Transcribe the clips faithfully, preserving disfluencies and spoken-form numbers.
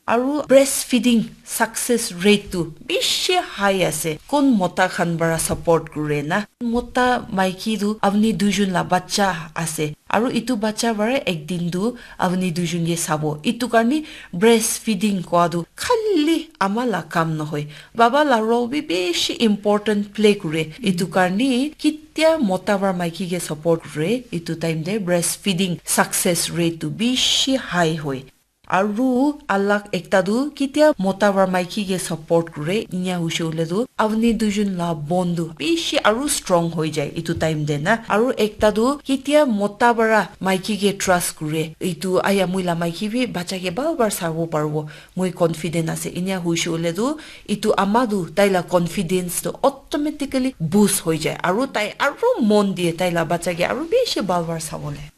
Aru breastfeeding success rate tu bishi high ase. Kun mota khan para support kure na? Mota maiki tu apni duijun la bacha ase. Aru itu bacha para ek din tu apni duijun ke sabo. Itu karni breastfeeding koa tu khali ama la kam nohoi. Baba la role bi bishi important play kure. Itu karni kitia mota para maiki ke support kure. Itu time te breastfeeding success rate tu bishi high hoi. Aru alag ekta tu kitia mota para maiki ke support kure, inya hoishe hoile tu apni duijun la bond tu bishi aru strong hoi jai itu time te na. Aru ekta tu kitia mota para maiki ke trust kure, itu aya moi la maiki bi bacha ke bal bar sabo paribo, moi confident ase, inya hoishe hoile tu itu ama tu tai la confidence tu automatically boost hoi jai, aru tai aru mon die tai la bacha ke aru bishi bal bar sabole.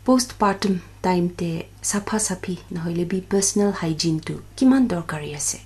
Postpartum time te sapha saphi nohoile bi personal hygiene tu kiman dorkari ase?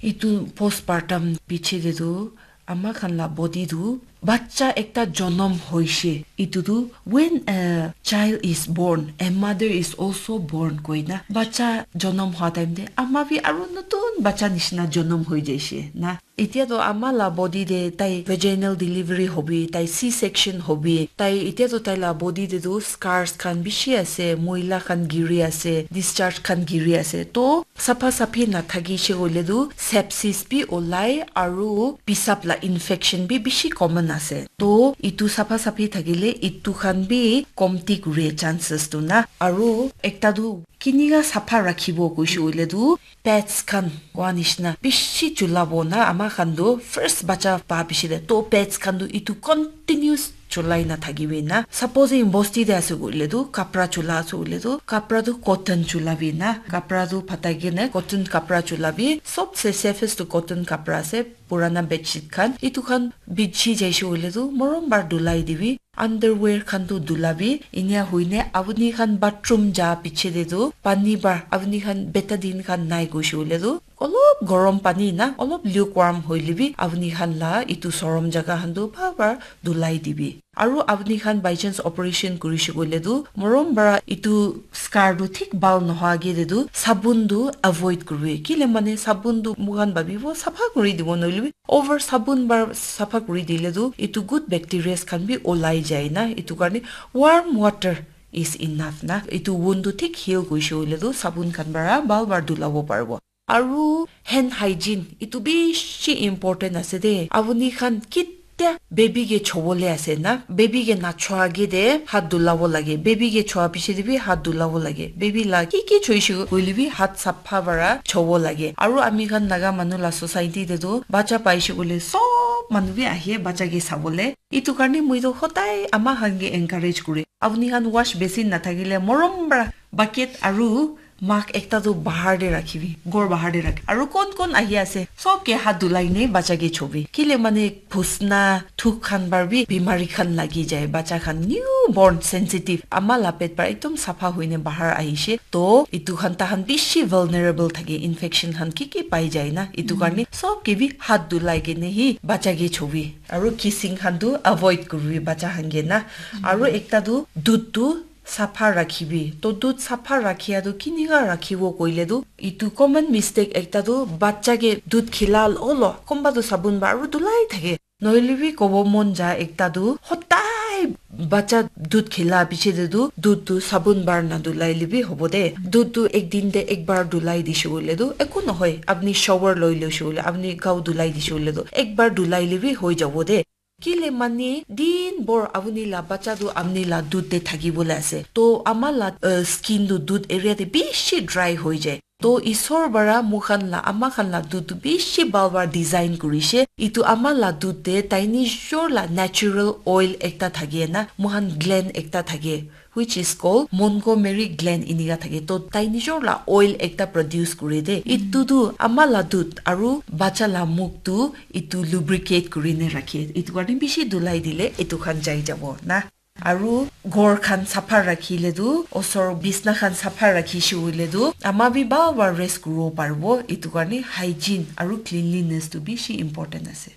Itu postpartum piche te tu ama khan la body tu bacha ekta jonom hoishe, itu tu when a child is born, a mother is also born koi na. Bacha jonom hua time te ama bi aru notun bacha nishina jonom hoi jaishe na. Itya tu ama la body te tai vaginal delivery hobi, tai C section hobi, tai itya tu tai la body te tu scars khan bishi ase, moila khan giri ase, discharge khan giri ase. To sapha saphi na thaki she hoile tu sepsis bi olai aru pisap la infection bi bishi common ase. To itu sapha saphi thakile itu khan bi komti kure chances tu na. Aru ekta tu kinika sapha rakhibo koishe hoile tu pads khan koa nishina bishi chulabo na. Ama khan tu first bacha pa piche te to pads khan tu itu continuous chulai na thakibi na. Supposing bosti te ase koile tu kapra chula ase koile tu kapra tu cotton chulabi na. Kapra tu phatai kene cotton kapra chulabi. Sobse safest tu cotton kapra ase. Purana bedsheet khan itu khan bichi jaishe hoile tu morom bar dulai dibi. Underwear khan tu dulabi, inya hoine apuni khan bathroom ja piche te tu pani bar apuni khan betadine khan nai koishe hoile tu olop gorom pani na, olop lukewarm hoile bi apuni khan la itu sorom jaga khan tu bhal para dulai dibi. Aru apuni khan by chance operation kurishe koile tu morom para itu scar tu thik bhal nohoi age te tu sabun tu avoid kuribi. Kile mane sabun tu moikhan bhabibo sapha kuri dibo nohoile bi over sabun para sapha kuri dile tu itu good bacterias khan bi olai jai na. Itu karne warm water is enough na. Itu wound tu thik heal koishe hoile tu sabun khan para bhal para dulabo paribo. Aru hand hygiene itu bishi important ase de. Apuni khan kitia baby ke chobole ase na, baby ke nachoa age de hat dulabo lage, baby ke choa piche de bi hat dulabo lage. Baby la ki ki choishe koile bi hat sapha para chobo lage. Aru ami khan Naga manu la society te tu bacha paishe koile sob manu bi ahe bacha ke sabole. Itu karne moi tu hodai ama khan ke encourage kure. Apuni khan wash basin na thakile morom para bucket aru mug ekta tu bahar te rakhibi, ghor bahar te rakhi. Aru kon kon ahi ase, sob ke hat dulai ne bacha ke chobi. Kile mane phusna, thuk khan para bi bimari khan lagi jai. Bacha khan newborn sensitive. Ama la pet para ekdom sapha hoine bahar ahishe. To itu khan tahan bishi vulnerable thake, infection khan ki ki pai jai na. Itu karne sob ke bi hat dulai kene hi bacha ke chobi. Aru kissing khan tu avoid kuribi bacha khan ke na. Aru ekta tu dudh tu sapha rakhibi. To dudh sapha rakhia tu kinika rakhibo koile tu itu common mistake ekta tu bacha ke dudh khila lolo konba tu sabun para aru dulai thake. Nohoile bi kobo mon ja ekta tu hodai bacha dudh khila piche te tu dudh tu sabun para na dulai le bi hobo de. Dudh tu ek din te ek bar dulai dishe koile tu eku nohoi. Apuni shower loi loishe koile, apuni gao dulai dishe koile tu ek bar dulai le bi hoi jabo de. Kile mane din bhor apuni la bacha tu apuni la dudh te thaki bole ase. To ama la, uh, skin tu dudh area te bishi dry hoi jai. To isor para moikhan la ama khan la dudh tu bishi bhal para design kurishe. Itu ama la dudh te tai nijor la natural oil ekta thake na, moikhan gland ekta thake, which is called Montgomery gland inika thake. To tai nijor la oil ekta produce kure de. Itu tu ama la dudh aru bacha la muk tu itu lubricate kuri ne rakhe. Itu karne bishi dulai dile itu khan jai jabo na. Aru ghor khan sapha rakhile tu, osor bisna khan sapha rakhishe hoile tu, ama bi bhal para rest kuribo paribo. Itu karne hygiene aru cleanliness tu bishi important ase.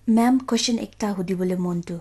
Ma'am, question ekta hudibole mon tu.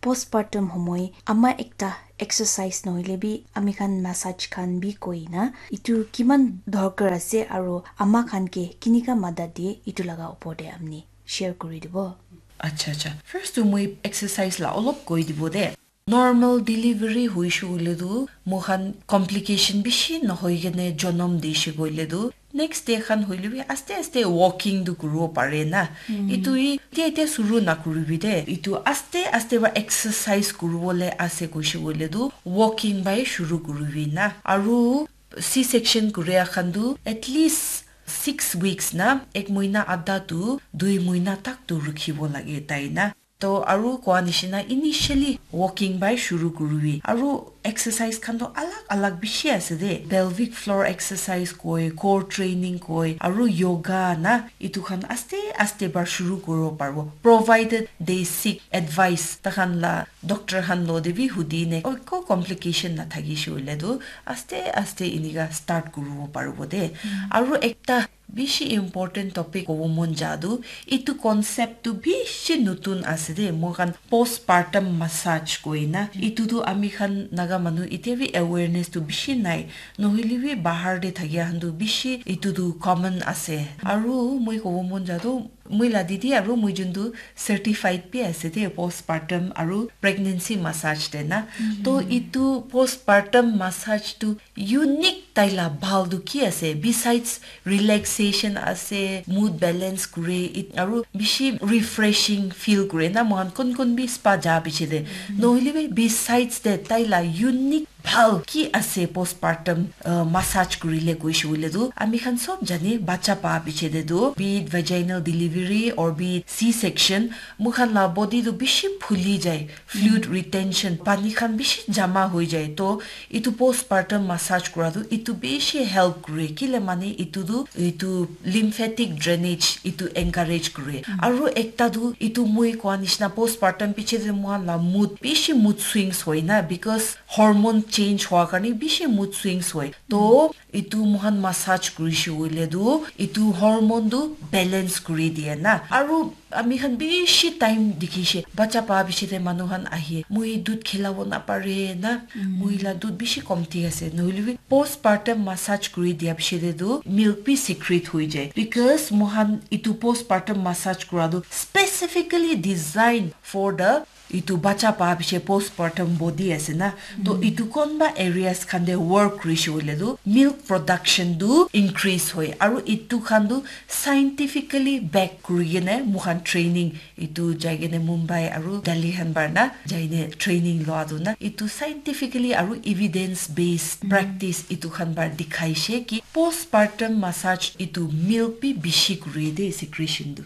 Postpartum homoi ama ekta exercise nohoile bi ami khan massage khan bi koi na, itu kiman dorkar ase aro ama khan ke kinika madat diye, itu laga opor te amni share kuri dibo. Acha, acha. First tu moi exercise la olop koi dibo de. Normal delivery hoishe hoile tu moikhan complication bishi nohoi kene jonom dishe koile tu, next day khan hoile bi aste aste walking tu kuribo pare na. Itu hi ete ete suru nakuribi de. Itu aste aste ba exercise kuribole ase koishe koile tu walking bai shuru kuribi na. Aru C-section kuria khan tu at least six weeks na, ek mohina adha tu dui mohina tak tu rukhibo lage tai na. To aru koa nishina initially walking bai shuru kuribi. Aru exercise khan to alag alag bishi ase de. Pelvic floor exercise koi, core training koi, aru yoga na, itu khan aste aste bar shuru kuribo paribo. Provided they seek advice. Takhan la doctor khan lo de bi hudi ne, oi ko complication na thakishe hoile tu aste aste inika start kuribo paribo de. Aru ekta bishi important topic kobo mon ja tu, itu concept tu bishi nutun ase de, moikhan postpartum massage koi na. Itu tu ami khan Naga manu ite bi awareness tu bishi nai. Nohile bi bahar de thakia khan tu bishi itu tu common ase. Aru moi kobo mon ja tu, moi la didi aru moi jun tu certified bi ase de, postpartum aru pregnancy massage de na. To itu postpartum massage tu unique tai la bhal tu ki ase? Besides relaxation ase, mood balance kure, it, aru bishi refreshing feel kure na, moikhan kon kon bi spa ja piche de. Nohile bi besides de tai la unique bhal ki ase postpartum, uh, massage kurile koishe hoile tu, ami khan sob jane bacha pa piche de tu, be it vaginal delivery or be it C-section, moikhan la body tu bishi phuli jai, fluid retention, pani khan bishi jama hoi jai. To itu postpartum massage kura tu itu bishi help kure. Kile mane itu tu itu lymphatic drainage itu encourage kure. Aru ekta tu itu moi koa nishina postpartum piche de moikhan la mood, bishi mood swings hoi na, because hormone change hoa karne bishi mood swings hoi. To itu moikhan massage kurishe hoile tu itu hormone tu balance kuri diye na. Aru ami khan bishi time dikhishe, bacha pa piche de manu khan ahi, moi dud khilabo napare na, moi la dud bishi komti ase. Nohile bi postpartum massage kuri dia piche de tu milk bi secrete hoi jai, because moikhan itu postpartum massage kura tu specifically designed for the itu bacha pa piche postpartum body ase na. To itu konba areas khan de work kurishe hoile tu milk production tu increase hoi. Aru itu khan tu scientifically back kuri kene moikhan training itu jai kene Mumbai aru Delhi khan bar na jai ne training loa tu na, itu scientifically aru evidence based practice itu khan bar dikhaishe ki postpartum massage itu milk bi bishi kuri de secretion tu.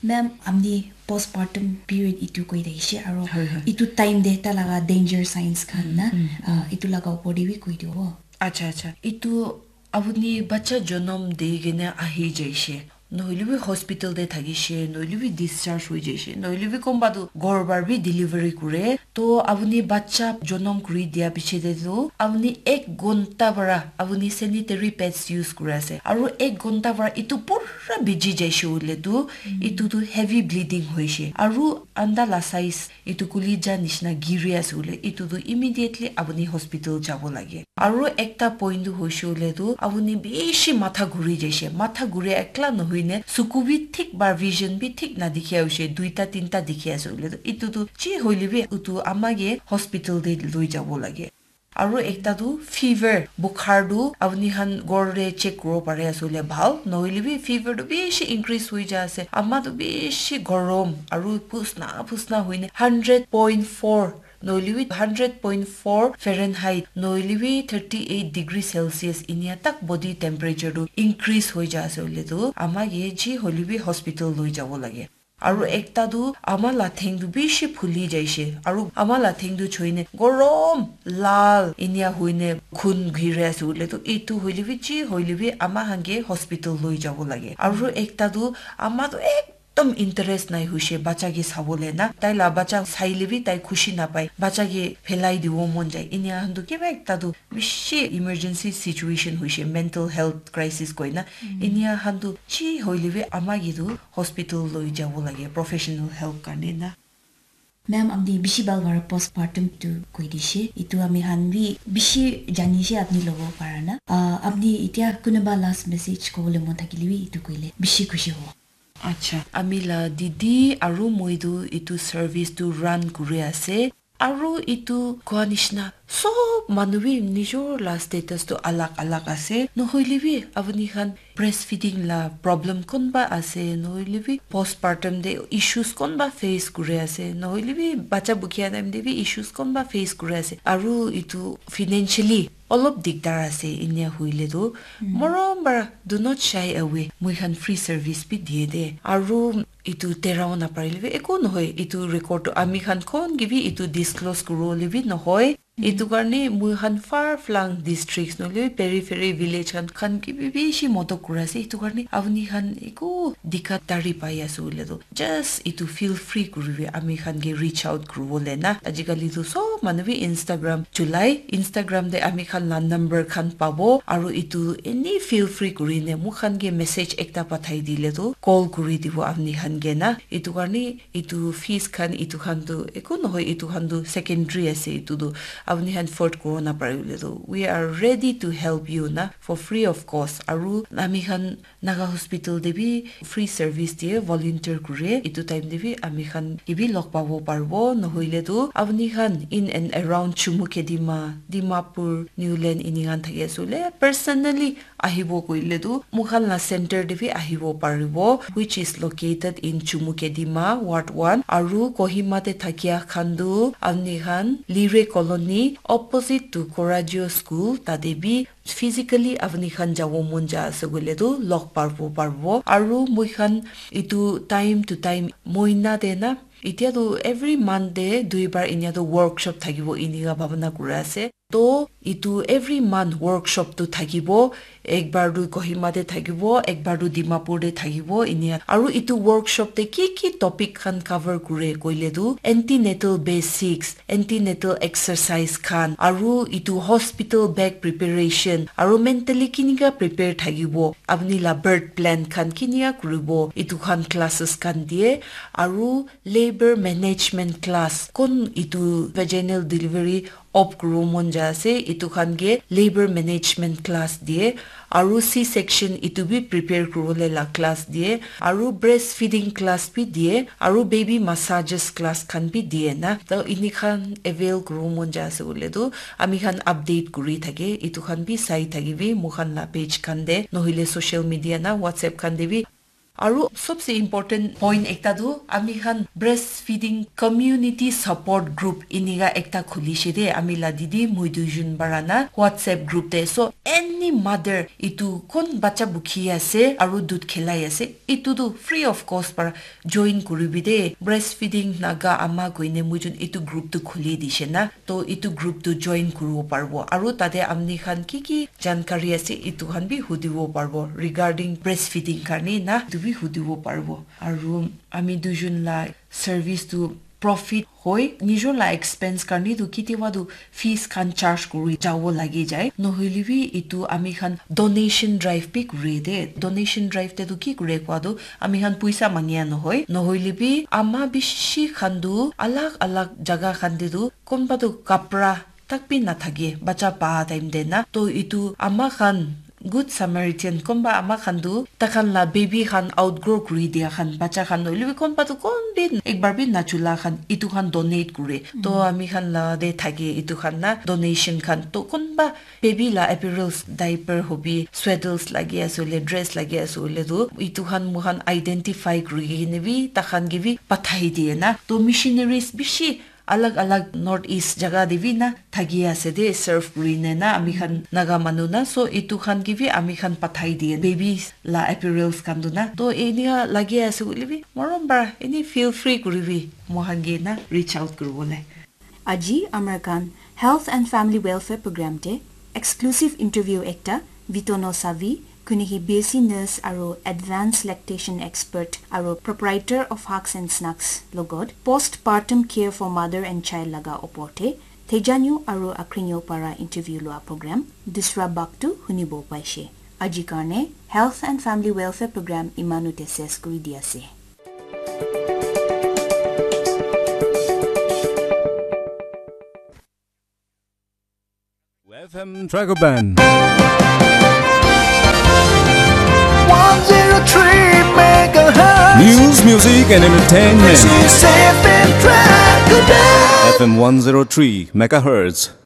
Ma'am, amni postpartum period itu koi thakishe aro itu time de ta laga danger signs khan na, ah, itu laga opor de bi koi dibo. Acha, acha. Itu apuni bacha jonom de kene ahi jaishe, nohile bi hospital de thakishe, nohile bi discharge hoi jaishe, nohile bi konba tu ghor bar bi delivery kure, to apuni bacha jonom kuri dia piche de tu apuni ek ghonta para apuni sanitary pads use kuri ase, aru ek ghonta para itu pura biji jaishe hoile tu itu tu heavy bleeding hoishe, aru anda la size itu kulija nishina giri ase hoile itu tu immediately apuni hospital jabo lage. Aru ekta point tu hoishe hoile tu apuni bishi matha ghuri jaishe, matha ghuri ekla nohoi ne suku bi thik ba vision bi thik na dikhi hoishe, duita tinta dikhi ase hoile tu itu tu chi hoile bi utu ama ke hospital de loi jabo lage. Aru ekta tu fever, bukhar tu apuni khan ghor de check kuribo pare ase hoile bhal, nohile bi fever tu bishi increase hoi ja ase, ama tu bishi gorom aru phusna phusna hoine hundred point four nohile bi hundred point four Fahrenheit nohile bi thirty eight degree Celsius inia tak body temperature tu increase hoi ja ase hoile tu ama ke ji hoile bi hospital loi jabo lage. Aru ekta tu ama la theng tu bishi phuli jaishe. Aru ama la theng tu choine gorom lal inia hoine khun giri ase hoile tu itu hoile bi chi hoile bi ama khan ke hospital loi jabo lage. Aru ekta tu ama tu ekdom interest nai hoishe bacha ke sabole na. Tai la bacha saile bi tai khushi napai. Bacha ke phelai dibo mon jai. Inia khan tu kiba ekta tu bishi emergency situation hoishe, mental health crisis koina. Inia khan tu chi hoile bi ama ke tu hospital loi jabo lage professional help karne na. Ma'am, apni bishi bhal para postpartum tu koi dishe. Itu ami khan bi bishi jani she apni logo para na. Ah, apni itia kunuba last message kobole mon thakile bi itu koile bishi khushi hobo. Acha, ami la didi aru moi tu itu service tu run kuri ase. Aru itu koa nishina sob manu bi nijor la status tu alag alag ase. Nohoile bi apni khan breastfeeding la problem konba ase, nohoile bi postpartum te issues konba face kuri ase, nohoile bi bacha bukhia time te bi issues konba face kuri ase, aru itu financially olop digdar ase, inia hoile tu morom para do not shy away, moi khan free service bi diye de. Aru itu terao naparile bi eku nohoi, itu record tu ami khan kon ke bi itu disclose kuribole bi nohoi. Itu karne moi khan far flung districts nohoile periphery village khan khan ke bi bishi modot kuri ase. Itu karne apni khan eku dikkat dari pai ase hoile tu just itu feel free kuribi ami khan ke reach out kuribole na. Ajikali tu sob manu bi Instagram chulai, Instagram te ami khan la number khan pabo aru itu any feel free kuri ne moi khan ke message ekta pathai dile tu call kuri dibo apni khan ke na. Itu karne itu fees khan itu khan tu eku nohoi, itu khan tu secondary ase, itu tu apni khan afford kuro na pare hoile tu we are ready to help you na for free of cost. Aru ami khan Naga hospital te bi free service diye, volunteer kure, itu time te bi ami khan ke bi log pabo paribo, nohoile tu apni khan in and around Chumukedima, Dimapur, Niuland ini khan thaki ase hoile personally ahibo koile tu moi khan la center te bi ahibo paribo, which is located in Chumukedima, Ward one. Aru Kohima te thakia khan tu apni khan Lire Colony, opposite to Coraggio School, tate bi physically apni khan jabo mon ja ase koile tu log paribo paribo. Aru moi khan itu time to time moina te na, itia tu every month te duibar inia tu workshop thakibo inika bhabana kuri ase. To itu every month workshop tu thakibo, ekbar tu Kohima te thakibo, ekbar tu Dimapur te thakibo, inia. Aru itu workshop te ki ki topic khan cover kure koile tu antenatal basics, antenatal exercise khan, aru itu hospital bag preparation, aru mentally kinika prepare thakibo, apni la birth plan khan kinika kuribo, itu khan classes khan diye, aru labor management class, kon itu vaginal delivery opt kuribo mon ja ase, itu khan ke labor management class diye, aru C section itu bi prepare kuribole la class diye, aru breastfeeding class bi diye, aru baby massages class khan bi diye na. To ini khan avail kuribo mon ja ase koile tu ami khan update kuri thake, itu khan bi sai thakibi moi khan la page khan te, nohoile social media na WhatsApp khan te bi. Aru sobse important point ekta tu ami khan breastfeeding community support group inika ekta khulishe de, ami la didi moi duijun para na WhatsApp group te. So any mother itu kon bacha bukhi ase aru dudh khelai ase, itu tu free of cost para join kuribi de. Breastfeeding Naga Ama koine moi jun itu group tu khuli dishe na. To itu group tu join kuribo paribo. Aru tate apni khan ki ki jankari ase, itu khan bi hudibo paribo. Regarding breastfeeding karne na, itu bi hudibo paribo. Aru ami duijun la service tu profit hoi, nijor la expense karne tu kitiba tu fees khan charge kuri jabo lagi jai. Nohoile bi itu ami khan donation drive bi kure de. Donation drive te tu ki kure koa tu ami khan puisa mangia nohoi. Nohoile bi ama bishi khan tu alag alag jaga khan te tu konba tu kapra tak bi nathake, bacha pa time te na. To itu ama khan, Good Samaritan, konba ama khan tu takhan la baby khan outgrow kuri dia khan, bacha khan nohoile bi konba tu kon bi ekbar bi nachula khan, itu khan donate kure. To ami khan la de thake itu khan na donation khan. To konba baby la apparels, diaper hobi, swaddles lagi ase hoile, dress lagi ase hoile tu itu khan moi khan identify kuri kene bi takhan ke bi pathai diye na. To missionaries bishi alag alag North East jaga te bi na thaki ase de, serve kuri ne na ami khan Naga manu na. So itu khan ke bi ami khan pathai diye, babies la apparels khan tu na. To enika lagi ase koile bi morom para eni feel free kuribi, moi khan ke na reach out kuribole. Aji amar khan Health and Family Welfare Program te exclusive interview ekta Vitono Savi, kuni hi B S C nurse aru advanced lactation expert aru proprietor of Hugs and Snugs logot postpartum care for mother and child laga opor te Thejanyo aru Akrinyo para interview lua program dusra bhag tu hunibo paishe. Aji karne Health and Family Welfare Program imanu te ses kuri di ase. F M Dragon Band. One zero three megahertz. News, music, and entertainment. This is F M Dragon Band. F M one zero three megahertz.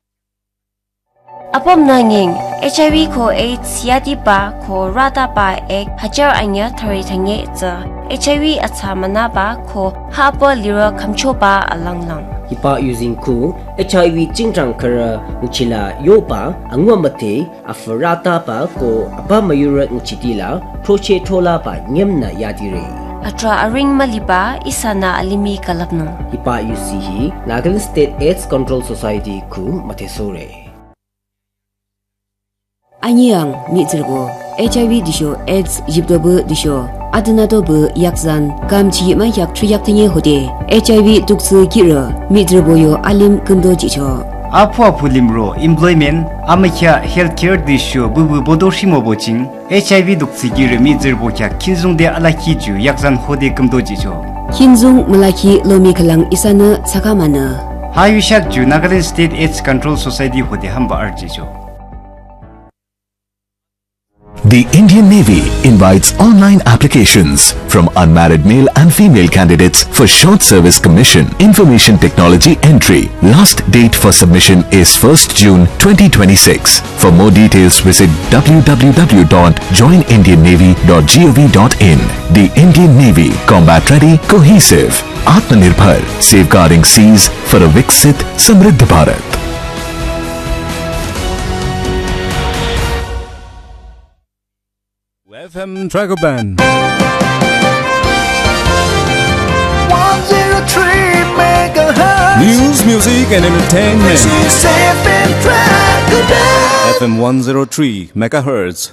Apom nanging, H I V ko AIDS yati pa ko rata pa ek hajar anya thari thange tsa. H I V atsa mana pa ko hapa lira kamcho pa alang lang. Hipa using ku H I V chingchang kara uchila yopa angwa mate afarata pa ko apa mayura uchitila proche thola pa nyemna yadire. Atra aring maliba isana alimi kalapno. Hipa usihi Nagaland State AIDS Control Society ku matesore. Anyang mi zirbo H I V disho AIDS yipdobu disho adanadobu yakzan kam chi ma yak chu yak tinye hode H I V duksu kira mi zirbo yo alim kundo jicho. Apu apu limro employment amakhya healthcare disho bubu bodo shimo boching H I V duksu kira mi zirbo kya kinzung de alaki ju yakzan hode kumdo jicho. Kinzung malaki lomi kalang isana sakamana. Hayushak ju Nagaland State AIDS Control Society hode hamba arjicho. The Indian Navy invites online applications from unmarried male and female candidates for short service commission, information technology entry. Last date for submission is first June twenty twenty-six. For more details, visit w w w dot join indian navy dot gov dot in. The Indian Navy, combat ready, cohesive, Atmanirbhar, safeguarding seas for a Viksit Samriddh Bharat. F M Dragon Band. One zero three megahertz. News, music, and entertainment. This is F M Dragon Band. F M one zero three megahertz.